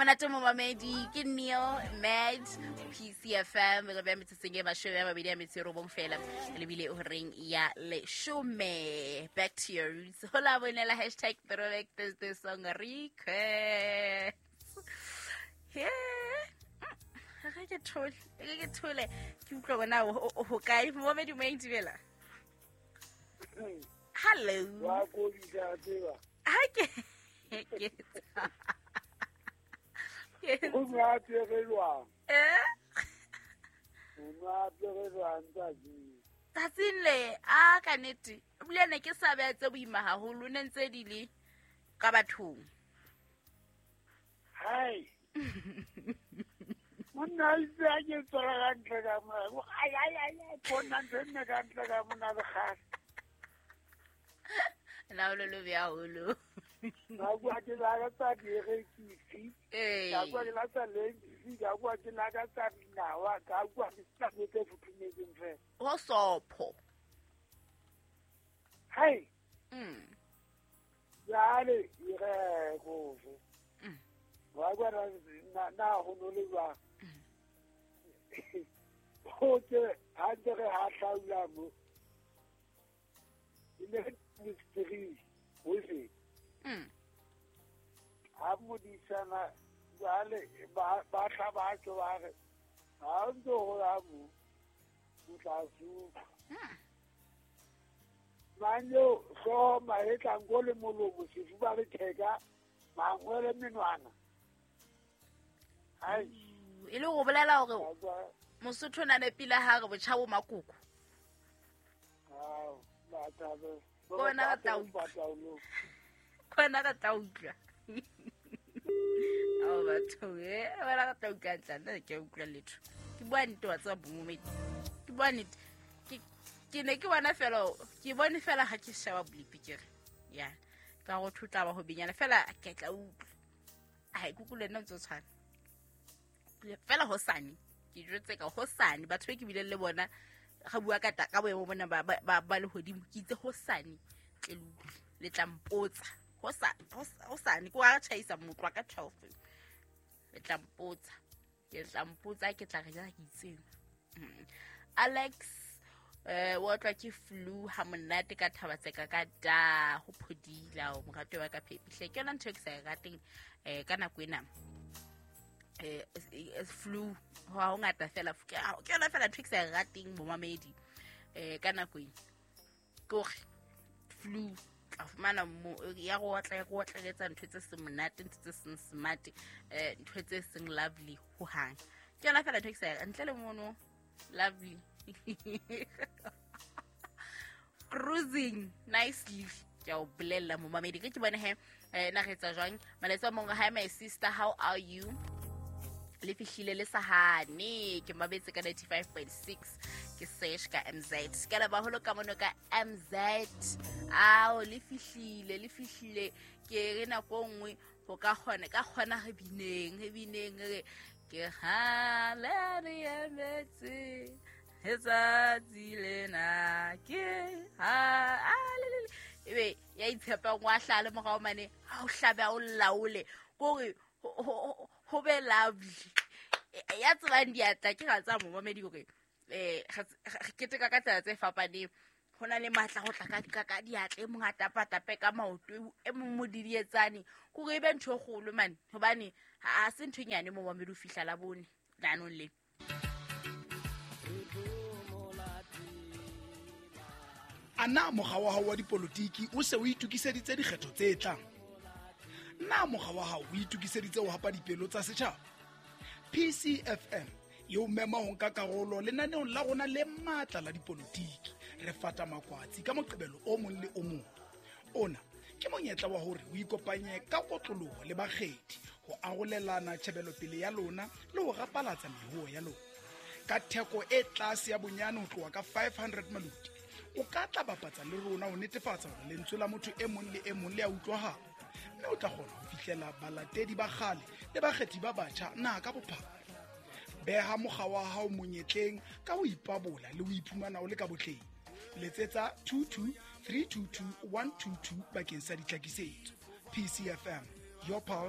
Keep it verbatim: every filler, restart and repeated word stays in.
Monate momamedi ke Neil Mad P C F M re be metsotsong e mashome a mabedi a metso e robong fela lebile o reng ya leshome. Back to your roots. Hola bonela hashtag throwback Thursday song request. Yeah. Ga ke thole, ga ke thole ke utlwa bona ho kae momamedi mo dumela. Hello. Wa go bitsa tseba. Ha ke ke O nwa apere Eh? O nwa apere jwang tsatsing? Tsatsing le a ka nnete. Ebile ne ke sa beha tse boima haholo ne ntse di le ka bathong. Hai. Monna itse a ke tswela ka ntle ka mona. Ai ai ai ai bona ntho nne ka ntle ka mona le kgale. La lo lo bia haholo. Ka bua ke lakatsa dierekisi. Ka bua ke lakatsa lentsi, ka bua ke lakatsa dinawa, ka bua ke tsa tse futhumetseng fela. Ho sopho. Hai. Mm. Jwale ire go fe. Mm. Wa bua na na ho no le jwang. Ho ke ha ntse re ha hlaula mo. Ile mystery ho se. Mm. Ha modisana jwale ba ba tla ba tlo ba re ha ntse ho ya mo o tla supa. Manyo so mahetla ngo le molomo sefuba le theka mangwele menwana. Ai e le go bolela hore Mosotho na ne pila ha re botjha bo makoko. Ah ba tla bona ka tla utlwa. Kona ka tla utlwa. Ao batho e bona ka tla utlwa ntla nna ke utlwa letho. Ke bua nnete wa tseba bomomedi. Ke bua nnete. Ke ke ne ke bona fela ke bone fela ha ke sheba blipi ke re. Ya. Ka go thutla ba ho binyana fela ke tla utlwa. Ai kuku le nna ntse tshwana. Fela hosane ke jwetse ka hosane batho be ke bile le bona ga bua ka ka boemo bona ba ba ba le hodimo ke itse hosane tle le utlwe le tla mpotsa. Hosa hosane ko a tjhaisa motlwa ka twelve le tla mpotsa ke tla mpotsa ke tla re ja ke itseng. Alex eh wa tlwa ke flu ha monate ka thabatseka ka da ho phodila o morato wa ka phepihle ke yona ntho e ke sa e rateng eh ka nako ena eh flu ha ho ngata fela ke yona fela ntho e ke sa e rateng momamedi eh ka nako ena ke hore flu a fumana mo ya go otla ya go otleletsa ntho tse seng monate ntho tse seng smart eh ntho tse seng lovely ho hang ke yona fela ntho e ke sa ntle le mono lovely cruising nicely ke o bolella momamedi ke ke bone he na re etsa jwang maletsa mongwe. Hi my sister, how are you? Le fihlile le sahane ke mabetse ka ninety-five point six ke sesh ka M Z ke la baholo ka mono ka M Z ao le fihlile le fihlile ke re nako nngwe ho ka kgona ka kgona re bineng re bineng re ke ha le re emetse letsatsi lena ke ha a le le ebe ya itshepang wa hlale morao mane ha o hlabe o laole kore ho be lovely ya tsebang diatla ke ga tsa momamedi hore eh re keteka ka tsela tse fapaneng ho na le matla ho tla ka ka diatla e mong a tapa tape ka maoto e mong mo didietsane kore e be ntho e kgolo mane hobane ha se ntho e nyane momamedi o fihla la bone lanong le. Ana mokga wa hao wa dipolotiki o se o itokiseditse dikgetho tse tlang? Na mokga wa hao o itokiseditse ho hapa dipelo tsa setjhaba? P C F M e o mema ho nka karolo lenaneong la rona le matla la dipolotiki. Re fata makwatsi ka Moqebelo o mong le o mong. Ona ke monyetla wa hore o ikopanye ka kotloloho le bakgethi ho arolelana tjhebelopele ya lona le ho rapalatsa mehuo ya lona. Ka theko e tlase ya bonyane ho tloha ka five hundred maloti, o ka tla bapatsa le rona ho netefatsa hore lentswe la motho e mong le e mong le a utlwahala, mme o tla kgona ho fihlela balatedi ba kgale le bakgethi ba batjha naha ka bophara. Beha mokga wa hao monyetleng ka ho ipabola le ho iphumana o le ka botleng. Letsetsa two two three two two one two two bakeng sa ditlhakisetso. P C F M, your pulse.